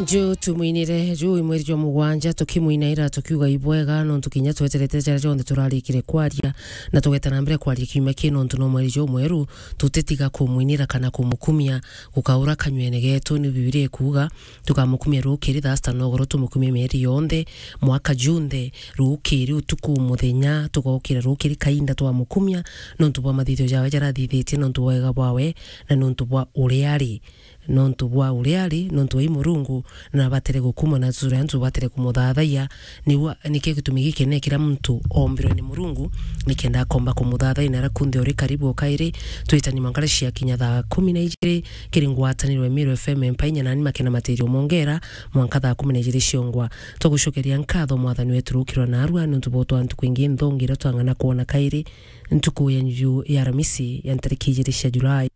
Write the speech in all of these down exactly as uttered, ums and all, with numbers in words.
Ju tumwinire ju i mweri jwa mugwanja, tukimwinaira tukiuga ibwega, nontu kinya tweterete jaria jonthe turarikire kwaria, na tugeta na mbere kwaria kiumia ki, nontu no mweri jumweru, tutitiga kumwinira kana kumukumia gukaura kanywene getu. Ni Bibilia ikuuga, tukamukumia rukiri thaa sita nogoro, tumukumie mieri yonthe, mwaka junthe, rukiri utuku muthenya, tugokira rukiri kainda twamukumia, nontu bwa mathithio jawe jarathithitie, nontu bwa wega bwawe, na nontu bwa uria ari. Nontu bwa uria ari, nontu wai Murungu, na abatire gukumwa na turia antu tubatire kumuthathaiya. Niu, nikio gitumi gikinene kiria muntu ombirwe ni Murungu, nikenda akomba kumuthathaiya na aria kunthe uri karibu o kairi. Twitani mwanka cia kinya thaa kumi na ijiri, kiri ngwataniro ya Meru F M Empainya nani Makena Matirio Mongera, mwanka thaa kumi na ijiri ciongwa. Twagucokeria nkatho Mwathani wetu rukirwa narua, nontu bwa twa ntuku ingi nthongi iria twang'ana kwona kairi, ntuku ya nju ya Aramisi ya ntariki ijiri cia Julai.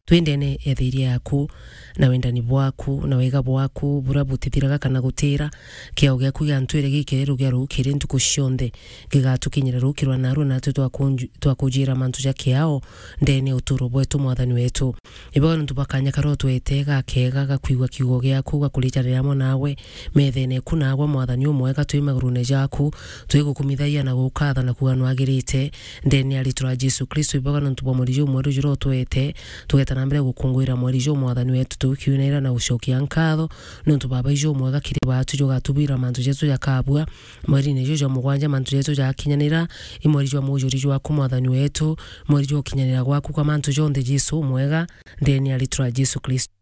Twi ndene ya thiria yaku, na wendani bwaku, na wega bwaku, buria butithiraga kana gutira. Kiao giaku giantwire gikeru gia rukiri ntuku cionthe, gigatukinyira rukirwa narua, natwi twakunju-, twakujira mantu ja kiao ndene ya uturo bwetu, Mwathani wetu. Ibwega nontu bwa kanya karia utwete gakega ga kwigua kiugo giaku, ga kurijanira amwe nawe, methene eku nagwe, Mwathani umwega, twi magurune jaku, twigukumithagia na gukatha na kuuga nwagirite, ndene ya ritwa ria Jesu Kristo. Ibwega nontu bwa mweri jumweru juria utwete, tugeta na mbere gukunguira mweri juu, Mwathani wetu, tukiunaira na gucokia nkatho, nontu Baba ijumwega kiri batu jugatubwira mantu jetu jakabua, mweri-ini juu jwa mugwanja mantu jetu jakinyanira, i mweri jwa mujuri jwaku, Mwathani wetu, mweri jwa gukinyanira gwaku kwa mantu jonthe, Jesu umwega, ndene ya ritwa ria Jesu Kristo.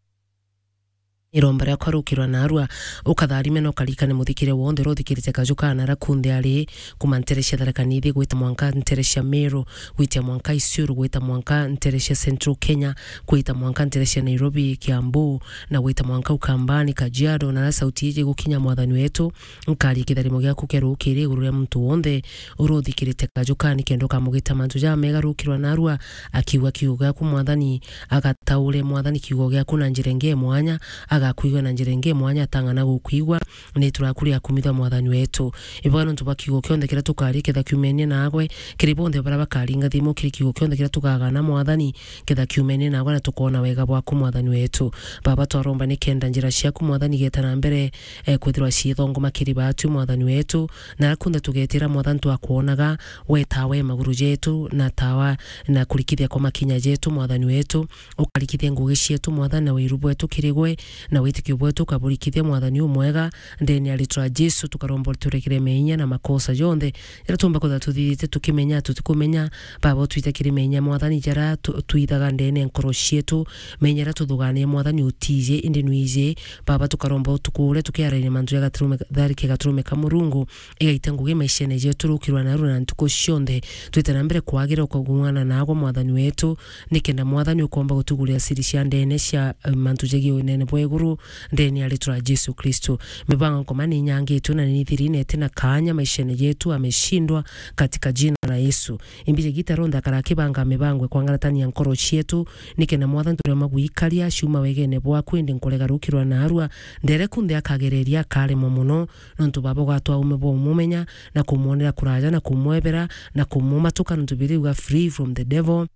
Iromba riakwa rukirwa narua, ukatharime na ukarikane muthikire wonthe uria uthikirite kaju kana aria kunthe ari, kuma ntere cia Tharaka Nithi gwita mwanka ntere cia Meru, gwita mwanka Isiolo, gwita mwanka ntere cia Central Kenya, gwita mwanka ntere cia Nairobi, Kiambu, na gwita mwanka Ukambani, Kajiado, na aria sauti iji igukinya, Mwathani wetu, nkaria kitharimo giaku kia rukiri iguru ria muntu wonthe uria uthikirite kaju kana, nikenda ukamugita mantu jamega rukirwa narua, akiuga kiugo giaku, Mwathani, agataure, Mwathani, kiugo giaku na njira ingi ya mwanya, agakwigua na njira ingi ya mwanya, atang'ana gukwigua, na itu riaku riakumithwa, Mwathani wetu. Ibwega nontu bwa kiugo kionthe kiria tukaria, ketha kiumenie nagwe, kiri bonthe baria bakaringa thimu, kiri kiugo kionthe kiria tukagana, Mwathani, ketha kiumenie nagwe, na tukoona wega bwaku, Mwathani wetu. Baba, twaromba nikenda njira ciaku, Mwathani, igeta na mbere, eh, kwithirwa ciithongoma kiri batu, Mwathani wetu, na aria kunthe tugetira, Mwathani, twakwonaga, we tawa ya maguru jetu, na tawa na kurikithia kwa makinya jetu, Mwathani wetu. Ukarikithia ngugi cietu, Mwathani, na wiru bwetu kiri gwe, na witikio bwetu ukaburikithia, Mwathani umwega, ndene ya ritwa ria Jesu, tukaromba uriturekere meenya na makosa jonthe, jaria tuumba kwithirwa tuthithite tukimenya, tutikumenya. Baba, utwite kiri meenya, Mwathani, jaria tu-, twithaga ndene ya nkoro cietu, meenya jaria tuthugania, Mwathani, utiji, indi nwiji. Baba, tukaromba utuku uria tukiaraine mantu ja gaturume, tharike gaturume ka Murungu, igaita ngugi maishene jetu rukirwa narua na ntuku cionthe. Twite na mbere kwagira ukagung'ana nagwe, Mwathani wetu, nikenda, Mwathani, ukomba gutugurira siri cia ndene cia, eh, mantu jegii unene bwa iguru, ndene ya ritwa ria Jesu Kristo. Mibango nkoma ni inyangitwe na ni thiri na iti na kaanya maishene jetu, ameshindwa katika jina la Yesu. Imbije gita ronthe akara akibanga mibango ikwangaratania nkoro cietu, nikenda, Mwathani, turema gwikaria ciuma wegene bwaku, indi nkurega rukirwa narua, ndere kunthe akagereria akaremwa mono, nontu Baba ugatwa ume bwa umumenya, na kumwonera kuraja, na kumwebera, na kumumatuka, nontu Bibilia iuga, "Free from the devil."